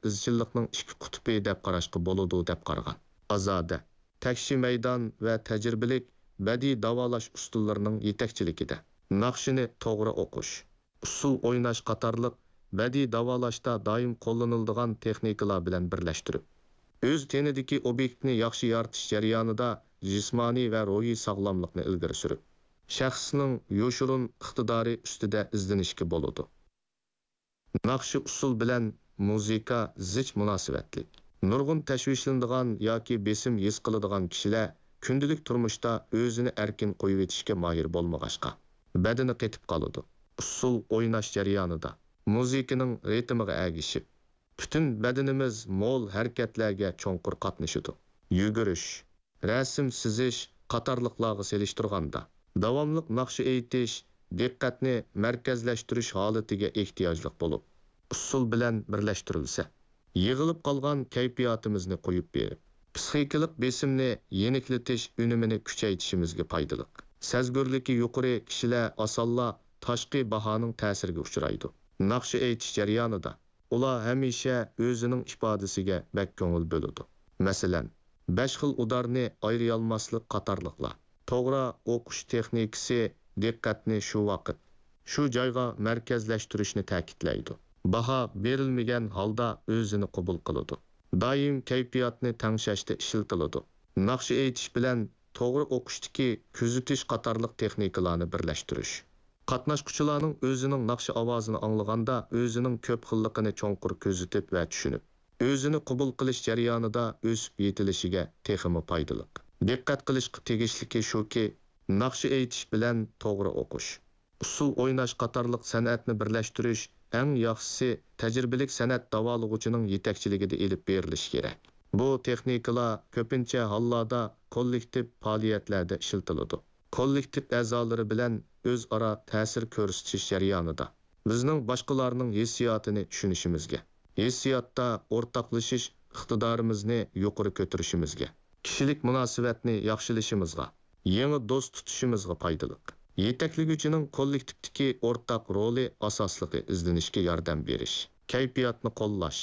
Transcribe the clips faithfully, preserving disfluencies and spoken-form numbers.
ئىزچىللىقنىڭ ئىككى قۇتۇپى دەپ قاراشقا بولىدۇ، دەپ قارىغان. ئازادە، تەكشى مەيدان ۋە تەجرىبىلىك بەدىئىي داۋالاش ئۇسۇللىرىنىڭ يېتەكچىلىكىدە ناخشىنى توغرا ئوقۇش، ئۇسسۇل ئويناش قاتارلىق بەدىئىي داۋالاشتا دائىم قوللىنىلىدىغان تېخنىكىلار بىلەن بىرلەشتۈرۈپ، ئۆز تېنىدىكى ئوبيېكتنى ياخشى يارىتىش جەريانىدا جىسمانىي ۋە روھىي ساغلاملىقنى ئىلگىرى سۈرۈپ، شەخسنىڭ يوشۇرۇن ئىقتىدارى ئۈستىدە ئىزدىنىشكە بولىدۇ. ناخشا ئۇسسۇل بىلەن مۇزىكا زىچ مۇناسىۋەتلىك. نۇرغۇن تەشۋىشلىنىدىغان ياكى بېسىم ھېس قىلىدىغان كىشىلەر كۈندىلىك تۇرمۇشتا ئۆزىنى ئەركىن قويۇۋېتىشكە ماھىر بولمىغاچقا، بەدىنى قېتىپ قالىدۇ. ئۇسسۇل ئويناش جەريانىدا مۇزىكىنىڭ رىتىمىغا ئەگىشىپ، پۈتۈن بەدىنىمىز مول ھەرىكەتلەرگە چوڭقۇر قاتنىشىدۇ. يۈگۈرۈش، رەسىم سىزىش قاتارلىقلارغا سېلىشتۇرغاندا، داۋاملىق ناخشا ئېيتىش دىققەتنى مەركەزلەشتۈرۈش ھالىتىگە ئېھتىياجلىق بولۇپ، ئۇسسۇل بىلەن بىرلەشتۈرۈلسە، يىغىلىپ قالغان كەيپىياتىمىزنى قويۇپ بېرىپ، پىسخىكىلىق بېسىمنى يېنىكلىتىش ئۈنۈمىنى كۈچەيتىشىمىزگە پايدىلىق. سەزگۈرلۈكى يۇقىرى كىشىلەر ئاسانلا تاشقى باھانىڭ تەسىرىگە ئۇچرايدۇ. ناخشا ئېيتىش جەريانىدا ئۇلار ھەمىشە ئۆزىنىڭ ئىپادىسىگە بەك كۆڭۈل بۆلىدۇ. مەسىلەن، بەش خىل ئۇدارنى ئايرىيالماسلىق قاتارلىقلار. توغرا ئوقۇش تېخنىكىسى دىققەتنى شۇ ۋاقىت، شۇ جايغا مەركەزلەشتۈرۈشنى تەكىتلەيدۇ. باھا بېرىلمىگەن ھالدا ئۆزىنى قوبۇل قىلىدۇ. دائىم كەيپىياتنى تەڭشەشتە ئىشلىتىلىدۇ. ناخشا ئېيتىش بىلەن توغرا ئوقۇشتىكى كۆزىتىش قاتارلىق تېخنىكىلارنى بىرلەشتۈرۈش. قاتناشقۇچىلارنىڭ ئۆزىنىڭ ناخشا ئاۋازىنى ئاڭلىغاندا ئۆزىنىڭ كۆپ خىللىقىنى چوڭقۇر كۆزىتىپ ۋە چۈشىنىپ، ئۆزىنى قوبۇل قىلىش جەريانىدا ئۆسۈپ يېتىلىشىگە تېخىمۇ پايدىلىق. دىققەت قىلىشقا تېگىشلىكى شۇكى، ناخشا ئېيتىش بىلەن توغرا ئوقۇش، ئۇسسۇل ئويناش قاتارلىق سەنئەتنى بىرلەشتۈرۈش ئەڭ ياخشىسى تەجرىبىلىك سەنئەت داۋالىغۇچىنىڭ يېتەكچىلىكىدە ئېلىپ بېرىلىشى كېرەك. بۇ تېخنىكىلار كۆپىنچە ھاللاردا كوللېكتىپ پائالىيەتلەردە ئىشلىتىلىدۇ. كوللېكتىپ ئەزالىرى بىلەن ئۆزئارا تەسىر كۆرسىتىش جەريانىدا بىزنىڭ باشقىلارنىڭ ھېسسىياتىنى چۈشىنىشىمىزگە، ھېسسىياتتا ئورتاقلىشىش ئىقتىدارىمىزنى يۇقىرى كۆتۈرۈشىمىزگە، كىشىلىك مۇناسىۋەتنى ياخشىلىشىمىزغا، يېڭى دوست تۇتۇشىمىزغا پايدىلىق. يېتەكلىگۈچىنىڭ كوللېكتىپتىكى ئورتاق رولى ئاساسلىقى ئىزدىنىشكە ياردەم بېرىش، كەيپىياتنى قوللاش،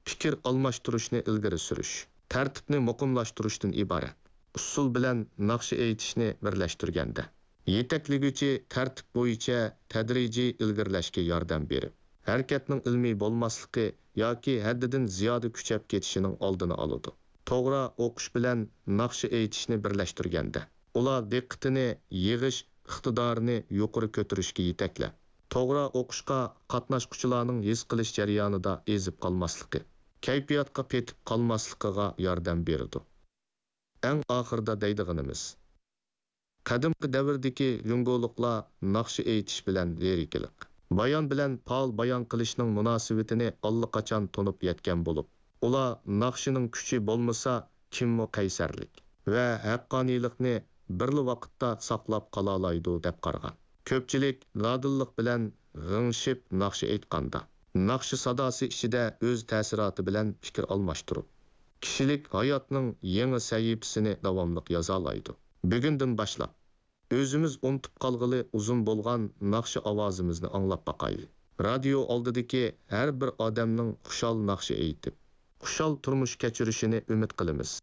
پىكىر ئالماشتۇرۇشنى ئىلگىرى سۈرۈش، تەرتىپنى مۇقىملاشتۇرۇشتىن ئىبارەت. ئۇسسۇل بىلەن ناخشا ئېيتىشنى بىرلەشتۈرگەندە، يېتەكلىگۈچى تەرتىپ بويىچە تەدرىجىي ئىلگىرىلەشكە ياردەم بېرىپ، ھەرىكەتنىڭ ئىلمىي بولماسلىقى ياكى ھەددىدىن زىيادە كۈچەپ كېتىشىنىڭ ئالدىنى ئالىدۇ. توغرا ئوقۇش بىلەن ناخشا ئېيتىشنى بىرلەشتۈرگەندە، ئۇلار دىققىتىنى يىغىش ئىقتىدارىنى يۇقىرى كۆتۈرۈشكە يېتەكلەپ، توغرا ئوقۇشقا قاتناشقۇچىلارنىڭ ھېس قىلىش جەريانىدا ئېزىپ قالماسلىقى، كەيپىياتقا پېتىپ قالماسلىقىغا ياردەم بېرىدۇ. ئەڭ ئاخىرىدا دەيدىغىنىمىز، قەدىمكى دەۋردىكى جۇڭگولۇقلار ناخشا ئېيتىش بىلەن لىرىكىلىق، بايان بىلەن پائال بايان قىلىشنىڭ مۇناسىۋىتىنى ئاللىقاچان تونۇپ يەتكەن بولۇپ، ئۇلار ناخشىنىڭ كۈچى بولمىسا، كىممۇ قەيسەرلىك ۋە ھەققانىيلىقنى بىرلا ۋاقىتتا ساقلاپ قالالايدۇ، دەپ قارىغان. كۆپچىلىك دادىللىق بىلەن غىڭشىپ ناخشا ئېيتقاندا، ناخشا ساداسى ئىچىدە ئۆز تەسىراتى بىلەن پىكىر ئالماشتۇرۇپ، كىشىلىك ھاياتنىڭ يېڭى سەھىپىسىنى داۋاملىق يازالايدۇ. بۈگۈندىن باشلاپ، ئۆزىمىز ئۇنتۇپ قالغىلى ئۇزۇن بولغان ناخشا ئاۋازىمىزنى ئاڭلاپ باقايلى. رادىيو ئالدىدىكى ھەر بىر ئادەمنىڭ خۇشال ناخشا ئېيتىپ، خۇشال تۇرمۇش كەچۈرۈشىنى ئۈمىد قىلىمىز.